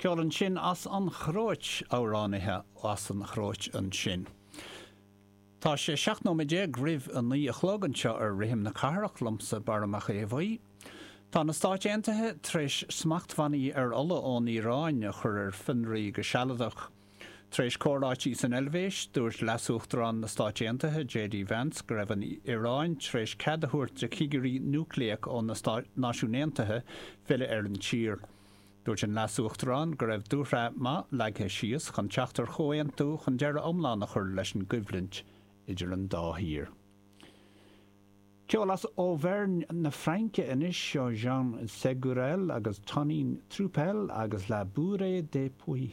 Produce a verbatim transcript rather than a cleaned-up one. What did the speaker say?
Ceol ansin as an Chróit, amhránaithe as an Chróit ansin. Tá sé seacht nóiméad déag roimh a naoi a chlog anseo ar Rithim na Cathrach liomsa Barra Mac Aodha Bhuí. Tá na Stáit Aontaithe tar éis smachtbhannaí ar ola ón Iaráin a chur ar fionraí go sealadach. Tar éis comhráití san Eilvéis, dúirt Leas-Uachtarán na Stáit Aontaithe, J D Vance, go raibh an Iaráin tar éis cead a thabhairt do chigirí núicléach ó na Náisiúin Aontaithe filleadh ar an tír. Dúirt an Leas-Uachtarán go raibh dúshraith maith leagtha síos chun teacht ar chomhaontú chun deireadh iomlán a chur leis an gcoimhlint idir an dá thír. Ceol as Auvergne na Fraince anois, seo Jean Ségurel agus Tonin Troupel agus La Bourrée des Poux.